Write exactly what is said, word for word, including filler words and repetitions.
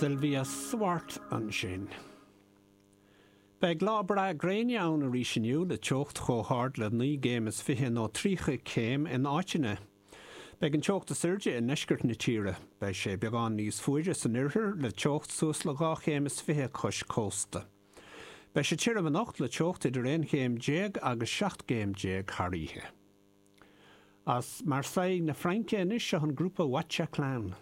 Sylvia Swart ansin. Beidh lá breá gréine ann arís inniu le teocht chomh hard le naoi gcéim is fiche nó tríocha céim in áiteanna. Beidh an teocht is airde i ndeisceart na tíre, beidh sé beagán níos fuaire san oirthear le teocht suas le dhá chéim is fiche cois cósta. Beidh sé tirim anocht le teocht idir aon chéim déag agus seacht gcéim déag thar oíche. As Marseille na Fraince anois seo an grúpa Watcha Clan.